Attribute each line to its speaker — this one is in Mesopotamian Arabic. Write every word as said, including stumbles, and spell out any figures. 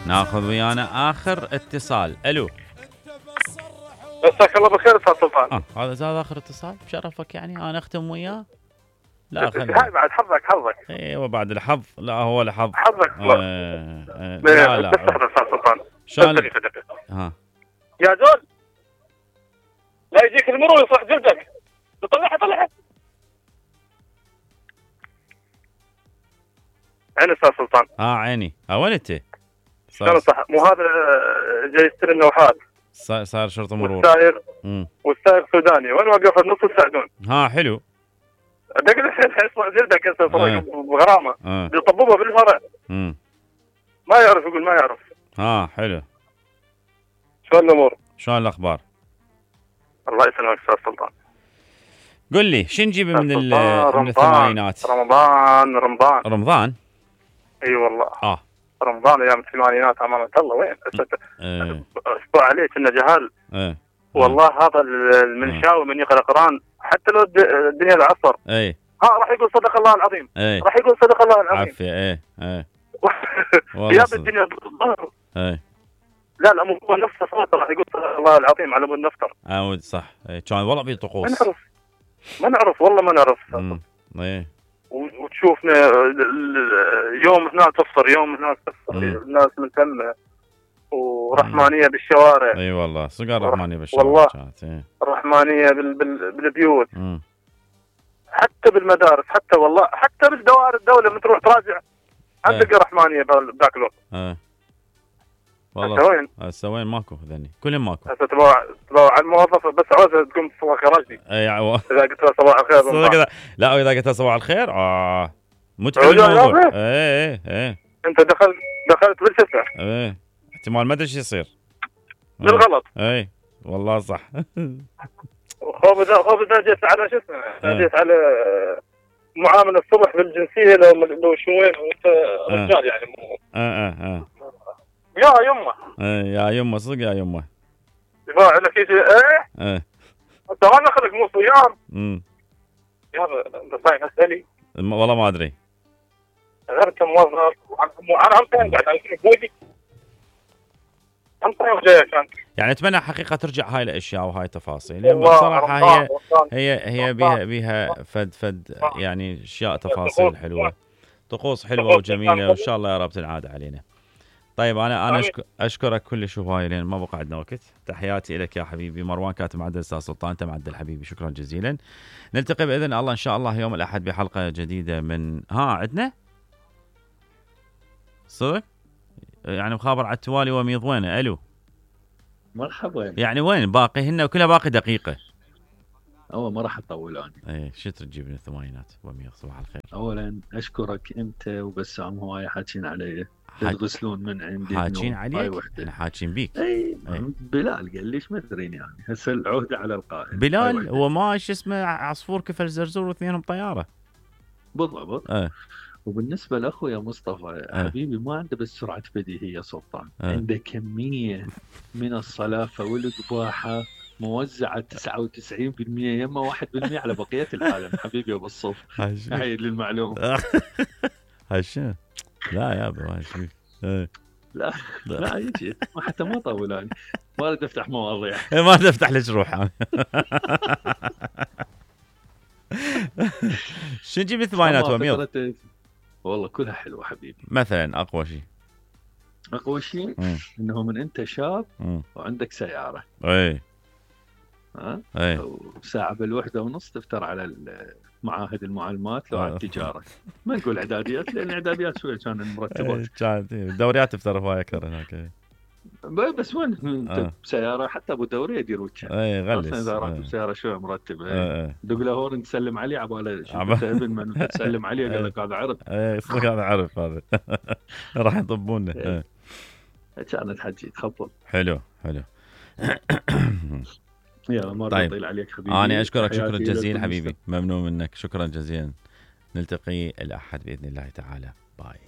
Speaker 1: ناخذ ويانا اخر اتصال. الو
Speaker 2: مساك الله بالخير استاذ سلطان.
Speaker 1: اه هذا زاد اخر اتصال بشرفك يعني انا اختم وياه. لا خلي
Speaker 2: هاي بعد حظك حظك.
Speaker 1: ايوه بعد الحظ. لا هو الحظ
Speaker 2: حظك.
Speaker 1: آه آه لا لا
Speaker 2: استاذ سلطان
Speaker 1: شلون ها
Speaker 2: يا زول لا يجيك المرور يصلح جلدك. طلعها طلعها. عين استاذ سلطان.
Speaker 1: اه عيني. ها وين انت؟
Speaker 2: شلون صح؟ مو هذا جاي يستلم النوحات.
Speaker 1: صار صار شرطه مرور.
Speaker 2: والسائر والسائر سوداني وين واقف النص يساعدون.
Speaker 1: ها حلو.
Speaker 2: دق الحين حيصلح جلدك هسه بغرامه.
Speaker 1: آه.
Speaker 2: بيطببها بالفرع.
Speaker 1: امم
Speaker 2: ما يعرف يقول ما يعرف.
Speaker 1: ها حلو.
Speaker 2: شلون الامور؟
Speaker 1: شلون الاخبار؟
Speaker 2: الله يسلمك استاذ سلطان.
Speaker 1: قل لي شو نجيب من من الثمانينات؟
Speaker 2: رمضان رمضان
Speaker 1: رمضان
Speaker 2: اي أيوة والله.
Speaker 1: اه
Speaker 2: رمضان ايام الثمانينات امانه الله وين؟
Speaker 1: ايه
Speaker 2: اسبوع عليه كنا جهال.
Speaker 1: ايه
Speaker 2: والله هذا المنشاوي من يقرا قران حتى لو الدنيا العصر.
Speaker 1: اي
Speaker 2: ها راح يقول صدق الله العظيم.
Speaker 1: ايه
Speaker 2: راح يقول صدق الله العظيم.
Speaker 1: عافيه ايه ايه
Speaker 2: يا بالدنيا ظهر.
Speaker 1: ايه
Speaker 2: لا لا مو هو نفسه صوته راح يقول صدق الله العظيم على مود نفطر.
Speaker 1: عود صح. ايه كان والله في طقوس.
Speaker 2: ما نعرف ما نعرف والله ما نعرف.
Speaker 1: امم ايه
Speaker 2: وتشوفنا يوم هناك تفطر يوم هناك تفطر الناس مهتمه ورحمانيه مم. بالشوارع.
Speaker 1: اي أيوة والله صقر رحمانيه بالشوارع
Speaker 2: والله
Speaker 1: كانت. ايه
Speaker 2: رحمانيه بال... بال... بالبيوت.
Speaker 1: مم.
Speaker 2: حتى بالمدارس حتى والله حتى بالدوائر الدوله من تروح تراجع عندك ايه. رحمانيه بذاك الوقت.
Speaker 1: ايه والله
Speaker 2: هسه وين؟
Speaker 1: هسه وين ماكو ذني كلهم ماكو.
Speaker 2: هسه تبغى تبغى على الموظفه بس عاوزها تقوم صباح خراجي.
Speaker 1: اي عو...
Speaker 2: اذا قلت له صباح الخير
Speaker 1: لا اذا قلت له صباح الخير اه متعب الموضوع. ايه ايه ايه
Speaker 2: انت دخلت دخلت بالشفه.
Speaker 1: ايه احتمال ما ادري ايش يصير
Speaker 2: بالغلط.
Speaker 1: ايه والله صح.
Speaker 2: خوف اذا خوف اذا جيت على شو اسمه جيت على معامله الصبح بالجنسيه لو لو شوين وانت رجال يعني مو
Speaker 1: اه اه اه
Speaker 2: يا يمه.
Speaker 1: ايه يا يمه صدق يا يمه.
Speaker 2: يباع لك شيء ايه
Speaker 1: ايه
Speaker 2: انت ما دخلك مو صيام.
Speaker 1: امم
Speaker 2: يا انت صايم اسالي
Speaker 1: والله ما ادري.
Speaker 2: غير كموظف انا هم قاعد على بودي هم جاي كان
Speaker 1: يعني اتمنى حقيقه ترجع هاي الاشياء وهاي التفاصيل لان بصراحه هي هي هي بها بها فد فد يعني اشياء تفاصيل حلوه طقوس حلوه وجميله وان شاء الله يا رب تنعاد علينا. طيب انا انا اشكرك كلش هواي لان ما بقى عندنا وقت. تحياتي لك يا حبيبي. مروان كاتب معدل استاذ سلطان انت معدل حبيبي شكرا جزيلا. نلتقي باذن الله ان شاء الله يوم الاحد بحلقه جديده من ها عندنا صدق يعني مخابر على التوالي وميض وينه. الو
Speaker 3: مرحبا.
Speaker 1: يعني وين باقي هن كلها باقي دقيقه.
Speaker 3: أول ما راح أطول أنا.
Speaker 1: إيه شو تجيب من الثمانينات ومية صباح الخير.
Speaker 3: أولاً أشكرك أنت وبسام هواي حاكين علي تغسلون من عندي.
Speaker 1: حاكين عليك؟ إحنا حاكين بيك.
Speaker 3: أي بلال قال ليش ما تدرين يعني هسه العهدة على القائد.
Speaker 1: بلال هو ما شو اسمه عصفور كفل زرزور واثنينهم طيارة.
Speaker 3: بالضبط.
Speaker 1: أه.
Speaker 3: وبالنسبة لأخويا مصطفى أه. حبيبي ما عنده بس سرعة بديهية سلطان. أه. عنده كمية من الصلافة والقباحة موزعة تسعة وتسعين بالمئة يما واحد بالمئة على بقية العالم. حبيبي أبو الصف هاي للمعلومة.
Speaker 1: هالشي لا يا ابو هالشي
Speaker 3: لا لا يجي حتى ما طول أنا ما أريد أفتح مواضيع.
Speaker 1: ما أريد أفتح لك روح أنا. شو نجيب الثمانينات وميض؟
Speaker 3: والله كلها حلوة حبيبي.
Speaker 1: مثلا أقوى شيء
Speaker 3: أقوى شيء إنه من أنت شاب
Speaker 1: مم.
Speaker 3: وعندك سيارة
Speaker 1: أي
Speaker 3: ها
Speaker 1: أي
Speaker 3: وساعة بالوحدة ونص تفتر على معاهد المعلمات لو على التجارة. ما نقول إعداديات لأن إعداديات شوية كان المرتبات
Speaker 1: كانت الدوريات تفتر هواي أكثر هناك.
Speaker 3: بس وين انت بسيارة حتى ابو دوري يدير وجهه.
Speaker 1: اي غلس
Speaker 3: اذا رحت بسيارة شوية مرتبة.
Speaker 1: اي
Speaker 3: دق له هورن تسلم عليه عباله شوف ابن من تسلم عليه قال لك هذا عرب.
Speaker 1: اي صدق هذا عرب هذا. راح يطبونه.
Speaker 3: كانت حجي تخبل.
Speaker 1: حلو حلو.
Speaker 3: يلا ما
Speaker 1: طيب.
Speaker 3: اطيل عليك حبيبي.
Speaker 1: انا اشكرك شكرا جزيلا حبيبي ممنون منك شكرا جزيلا. نلتقي الاحد باذن الله تعالى. باي.